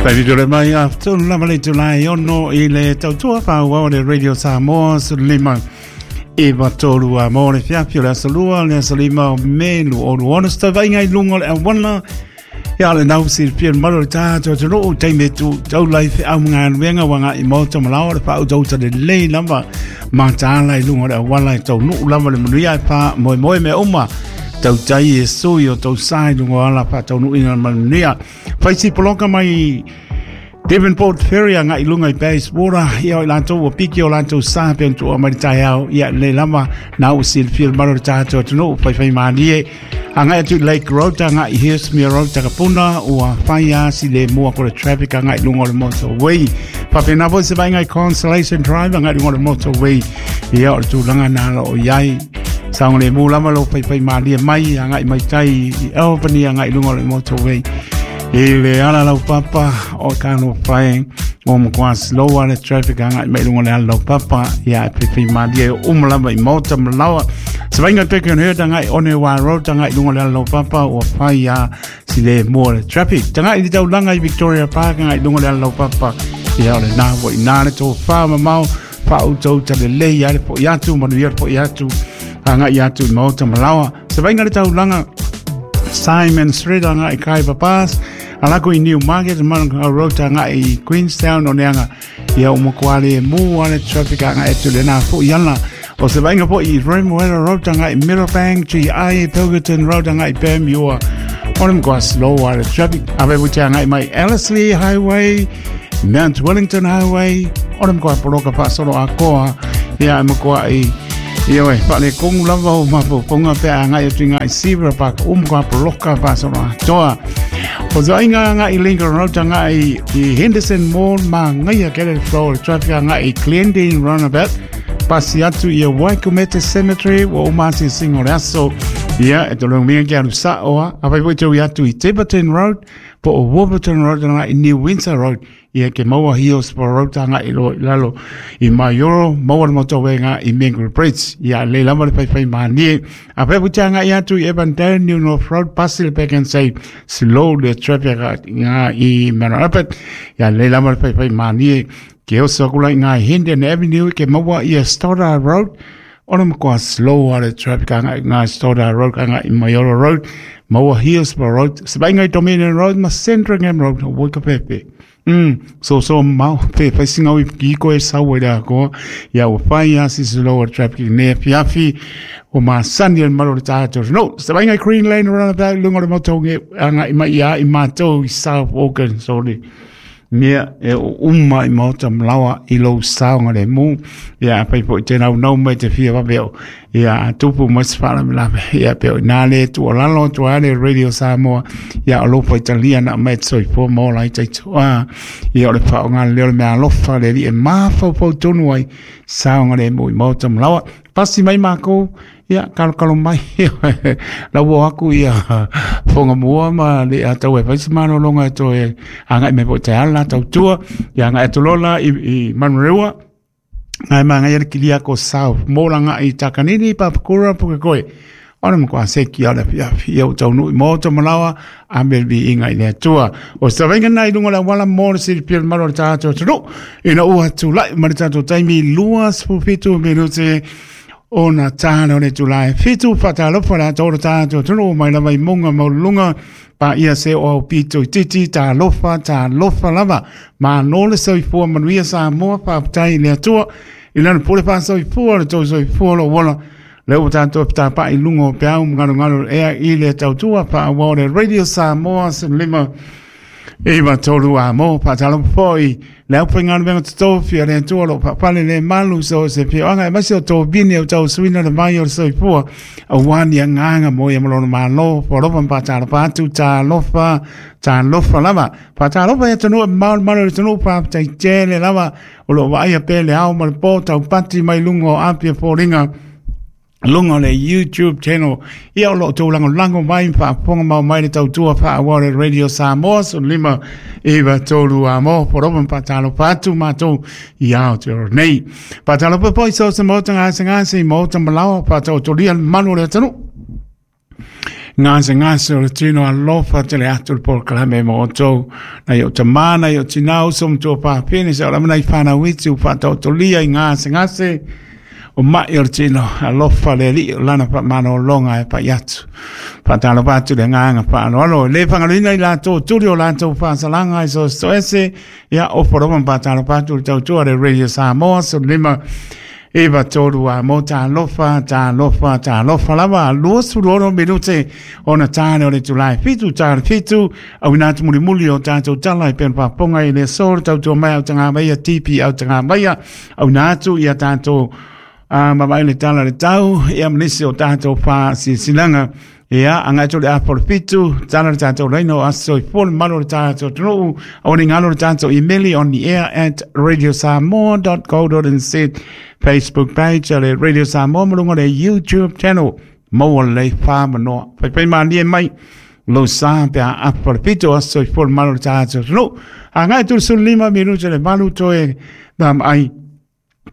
Taitole mai a tonu lava le itula e 6 i le tautua faaauau le Radio Samoa 15 9 3 a mo le fiafi o le aso 2 le aso 5 o Me 2026 se tauvaiga i luga o le auala. Ia le nau silafia le mamalu o le tatou atunuu taimi e tu taula i feau ma galuega ua agai i maota ma laoa le faautauta lelei lava mataala i luga o le auala e taunuu lava le manuia e faamoemoe mea uma tautai e sui o tou sa i luga o ala faataunuuina ma le manuia. Fai si poloka mai Devonport Ferry agai i luga i Bayswater, ia o i latou ua piki o latou sa pe ona tuua mai le taeao, ia lelei lava na ua silafia le mamalu o le tatou atunuu, faifai malie agai atu i Lake Road, agai i Hillsmere Road, Takapuna, ua fai a si le mua ko le traffic agai i luga o le motorway. Faapena foi se vaaiga i Constellation Drive agai i luga o le motorway, ia o le tulaga na lo o i ai. Saogalemu lava lo faifai malie mai agai mai tai i Albany agai i luga o le motorway. I le ala laupapa o ka fai o matua slow a le traffic agai mai luga o le ala laupapa, ia e faifai malie uma lava i maota ma laoa. Se vaaiga Beacon Hill agai Onewa Road agai luga o le ala laupapa ua fai a si le mua le traffic. Tagai i le taulaga i Victoria Park agai luga o le ala laupapa, ia o le nā ua i nā le tofā mamao faautauta lelei ai le fo'i atu, manuia le fo'i atu agai atu i maota ma laoa. Se vaaiga le taulaga Simon Street agai i Khyber Pass, alako i New Market, Manukau Road agai i Queenstown o neanga, ia o matua le mu a le traffic agai atu le nā fo'i ala. O se vaaiga foi i Remuera Road agai i Middlebank, GI, Pilkerton Road agai i Panmure, o le matua slow a le traffic. A pe te agai mai Ellerslie Highway, Mount Wellington Highway, o le matua poloka faasolo atoa, ia e matua i ia oe, faaletonu lava o mafaufauga pe a agai atu i ngai Zebra Park, o matua poloka faasolo atoa. O te vaaiga agai i Lincoln Road, agai i Henderson Mall, manaia tele le flow o le traffic agai i Glendene Roundabout, pasi atu i Waikumete Cemetery, ua uma asiasiga o le aso, ia e tologia ke alu sa'o a, afai foi te ui atu i Tiverton Road, po o Warburton Road agai i New Windsor Road, ia ke maua Hillsborough Road agai i lo i lalo i Maioro, maua le motorway agai i Mangere Bridge, ia lelei lava le faifai malie. A pe te agai atu i Avondale New North Road, pasi le Pak'nSave, slow le traffic agai i Mount Albert, ia lelei lava le faifai malie. Ke oso aku la i ngā Hendon Avenue ke maua ia Stoddard Road, o le matua slow a le traffic agai i ngā Stoddard Road agai i Maioro Road, maua Hillsborough Road, se vaaiga i Dominion Road ma Sandringham Road, o Waikapepe. So so mau pe fai singa ui ki ko e sau e la ko ia ua fai a si slow a traffic ne fiafi o ma sani al malo le tātou. No, se vaaiga i Green Lane roundabout lunga o le moto agai mai ia i mātou i South Auckland, sorry. Mea e o uma i maota ma laoa i lou saogalemu. Ia afai foi te naunau mai te fia vave o ia a tupu mai se faalavelave. Ia pe o inā le tuualalo atu ai le Radio Samoa ia o lou faitalia na aumai e te soifua ma ola ai taitoa. Ia o le faaaoga lelei o le meaalofa le alii e mafaufau tonu ai saogalemu i maota ma laoa. Pasi mai makou ia kalokalo mai lau o aku ia fonga mua ma le atau e fai se malologa e toe agai mai foi te ala tautua ia agai atu loa la i Manurewa ngai magaia le kilia ko South Mall agai i Takanini Papakura Pukekohe o le matua seki o le afiafi ia ua taunuu i maota ma laoa a me le viiga i le Atua. O se tavaiga lena i luga o le auala mo le silafia o le malu o le tatou atunuu ina ua tulai mai le tatou taimi 27 minute ona tā lea o le itula e 7. Faatalofa le atoa o le tatou atunuu mai lava i mauga maualuluga paia se o au pito itiiti, talofa, talofa lava. Malo le soifua manuia Samoa, faafetai i le Atua i lana pule faasoifua le tou soifua o lou ola. Lea ua tatou fetapa'i i luga o peau ma galugalu o le ea i le tautua faaauau o le Radio Samoa 15 9 3 a mo. Faatalofa foi le aufaigaluega totofi a le Atua o lo o faafale le malu so se fioaga aemaise o tovini o tausuina le vai o le soifua aua ni agaga mo ia ma lona Malo. Foalofa ma faatalofa atu, talofa, talofa lava. Faatalofa i atunuu e mamao le malu o le atunuu, faafetai tele lava o lo o vaaia pea le ao ma le po taupati mai luga o Apia Foliga luga o le YouTube channel. Ia o lo o tou lagolago mai ma faafofoga mau mai le tautua faaauau le Radio Samoa 15 9 3 a mo porofa ma faatalofa atu matou i Aotearoa nei. Faatalofa foi so se maota gasegase i maota ma laoa faataotolia le mamalu o le atunuu. Gasegase o le tino, alofa tele atu le polokalame mo outou. Nai o tamā, nai o tinā, uso ma tuafafine, seia oo lava nai fanau iti ua faataotolia i gasegase o ma'i o le tino, alofa le Alii o lana faamalologa e pai atu. Faatalofa atu le agaga faaaloalo, e le faagaloina i latou tuli o latou faasalaga i so ese ia ofo lava ma faatalofa atu le tautua le Radio Samoa 15 93 a mo talofa, talofa, talofa lava. 26 minute ona tale o le itula e 7 ta le 7, auina atu mulimuli o tatou tala e pei faafofoga i le aso le tautua mai au tagamaia TP au tagamaia, auina atu ia tatou a mama'i le tala le tau ia ma nisi o tatou faasilasilaga. Ia, agai atu le afa o le 7, tala le tatou laina o aso i fua le mamalu o le tatou atunuu. Aua ne i galo le tatou imeli ontheair@radiosamoa.co.nz, Facebook page a le Radio Samoa ma luga o le YouTube channel. Maua lelei whamanoa. Whaiwhai mālie mai lo sa pe a afa le 7 aso i fua le mamalu o le tatou atunuu. Agai atu le 15 minute le 8 toe ai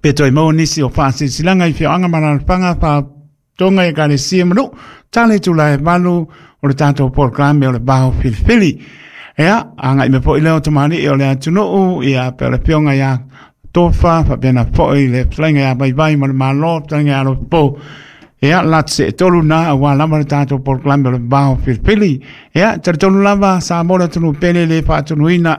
pe toe maua nisi o faasilasilaga i afioaga ma alaalafaga faatoga i ekalesia ma nuu, tale itula e 8 o le tatou polokalame o le Vao Filifili. Ia, agai mai foi lea o tamalii o le atunuu, ia pe o le afioga ia Tofa, faapena foi le fetalaiga ia Vaivai ma le Malo, fetalaiga ia Alopo. Ia, latu se tolu na aua lava le tatou polokalame o le Vao Filifili. Ia, talitonu lava Samoa le atunuu pele le faatunuina.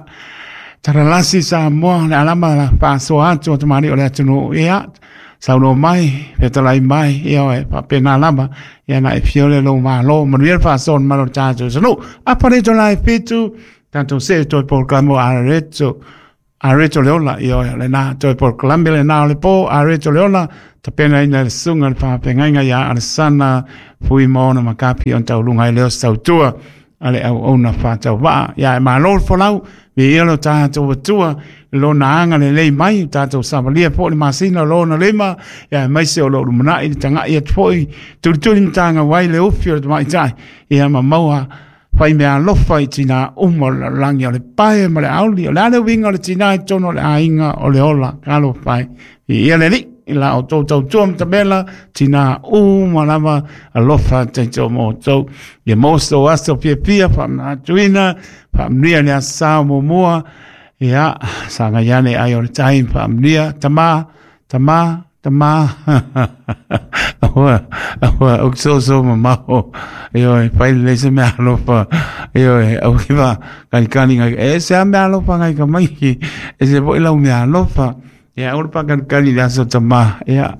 Talalasi Samoa le alama la faasoa atu o tamalii o le atunuu. Ia, saunoa mai, fetalai mai, ia oe, faapena lava. Ia na e fio le lou malo, manuia le faasoa o le malo o le tatou atunuu. Apa le itula e 7, tatou see toe polokalame o Areto. Areto le ola, ia oe, le na toe polokalame le na o le po, Areto le ola, tapenaina e le susuga le faafeagaiga ia Alesana Fuimaono Makapi on tauluga ai leo sautua a le auauna faatauvaa. Ia e malo le folau, viia lo tatou Atua i lona agalelei mai, tatou savalia foi le masina o lona lima, ia aemaise o lo o lumanai le tagai atu foi, tulituli matagau ai le ufi o le tamaitai, ia ma maua fai mea alofa i tinā uma o le lalolagi, o le pae ma le auli, o le a le uiga o le tinā i totonu o le aiga o le ola, talofa e. Viia le Alii i la outou tautua matamela, tinā uma lava, alofa taito mo outou. Ia maua so outou aso fiafia, faamanatuina, faamanuia le aso sa o muamua, ia, sagai ane ai o le tai, faamanuia, tama, tama, tama. Aua, aua, au soso mamao. Ioe, fai lelei se mea alofa. Ioe, au ki wa kanikani ngai. E se a mea alofa ngai ka mai. E se foi lau mea alofa. Ia, aua le paakanikani i le aso tama. Ia,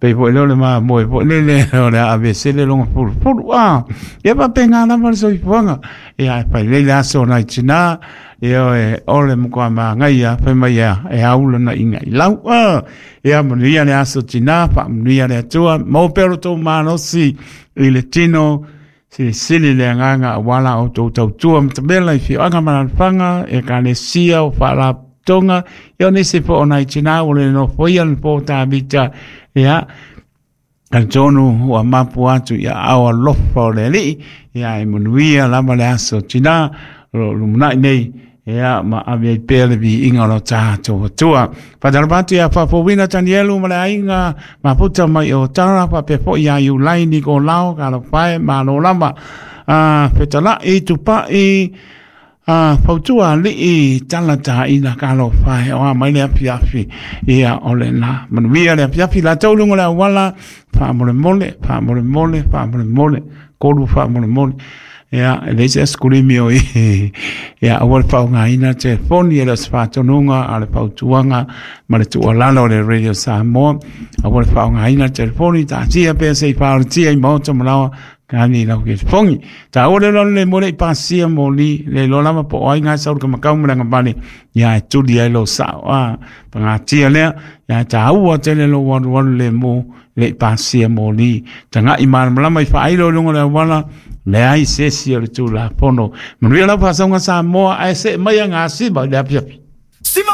pei foi lea o le mamoe foi lele o le a aveesele lona pulupulu. Ah, ia faapena lava le soifuaga. Ia, e fai lelei le aso o nai tinā. Ioe, o le matua manaia, fai mai ia, e aula na inga i lau. Ah, ia manuia le aso tinā, faamanuia le Atua, maua pea lo tou malosi i le tino, silisili le agaga aua la outou tautua matamela i afioaga ma alaalafaga, ekalesia o faalapotopotoga, ia o nisi foi o nai tinā ua le nofoia le nofoa o Tavita, ia, talitonu ua mapu atu i aao alofa o le Alii, ia e manuia lava le aso tinā o lo o lumanai nei, ia ma ave ai pea le viiga o lo tatou Atua. Faatalofa atu ia Faafouina Tanielu ma le aiga mafuta mai o Tara, faapea foi ia Iulai Nikolao, talofa e, malo lava. Fetalai Tupai, fautua alii tala taina talofa e, o a mai le afiafi, ia o lena. Manuia le afiafi latou luga o le auala, faamolemole, faamolemole, faamolemole, kolu faamolemole. Ia, e leai se asikulimi o i, ia aua le faaaogaina telefoni, e le o se faatonuga a o le fautuaga ma le tuualalo a le Radio Samoa. Aua le faaaogaina telefoni, taatia pea se i faaolatia i maota ma laoa, kani lau telefoni. Taua le loa le mo le i pasia moli, le iloa lava po o ai nga sau le kamakau ma le agavale, ia e tuli ai lou sao. A, pagatia lea, ia e taua tele lou alualu le mo le i pasia moli. Tagai malamalama i faailo i luga o le auala, leai se isi o le Tulafono. Manuia lau faasauga Samoa, ae see mai a gasima i le afiafi.